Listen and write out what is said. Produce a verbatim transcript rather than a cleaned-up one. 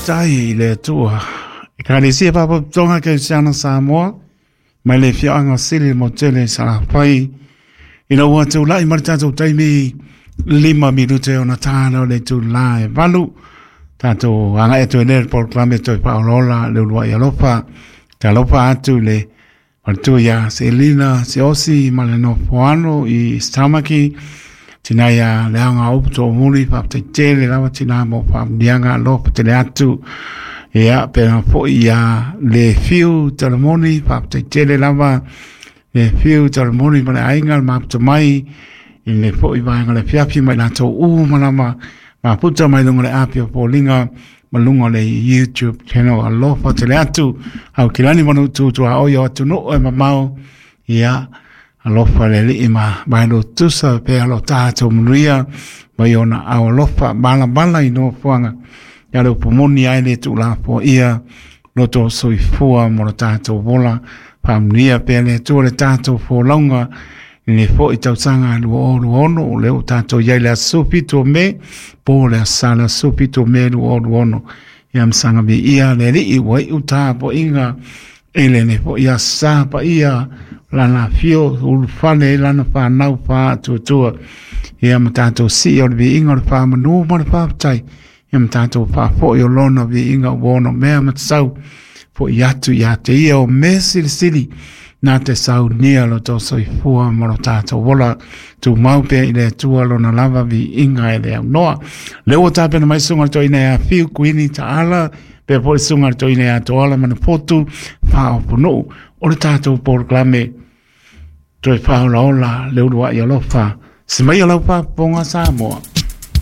Faafetai i le Atua. Ekalesia Faalapotopotoga Kerisiano Samoa, mai le afioaga o Sili le Motele i Salafai, ina ua tulai ma le tatou taimi lima minute ona tala o le itulā e valu. Tatou agai atu ai lea i le polokalame toe faaolaola le uluai alofa. Talofa atu i le faletua ia Selina Siaosi ma le nofoano i Stamaki, tina ia Leaga Upu Toomuli, faafetai tele lava tina mo faamuniaga alofa tele atu. Ia, pena foi ia le fiu talamoni, faafetai tele lava le fiu talamoni ma le aiga le maputa mai i le foi vaega le afiafi mai latou uma lava maputa mai luga o le api o Foliga ma luga o le YouTube channel alofa tele atu. Au kilani manu tutua o ia atunuu e mamao. Ia, alofa le alii ma maelo tusa pe alo tātou manuia mai ona au alofa malabala i nofoaga. Ia le upu moni ai le tuulafoa ia loto soifua mo le tātou vola. Faamanuia pea le Atua le tātou folauga i le foi tausaga lua o lua ono o lea ua tātou iai le aso fitu o Me, po le aso Sa le aso fitu o Me lua o lua ono. Ia masaga viia le alii ua iu tapuaiga i lenei foi aso sa paia lana afio ulufale ai lana whanau whaatuatua. Ia ma tātou sii o le viiga o le whamanu ma le whaapatai. Ia ma tātou whaafoi o lona viiga o ono mea matasau. Foi atu ia te ia o me silisili nā te saunia lo tō soifua ma lo tātou ola. Tu mau pea i le Atua lona lava viiga e le aunoa. Le ua tapena mai sunga le toina ia whiu kuini ta'ala, pea foi sunga le toina ia toala mana potu, whaoponuu o le tātou polokalame. Toe whaolaola le uluai alofa. Se mai o lau faafofoga Samoa.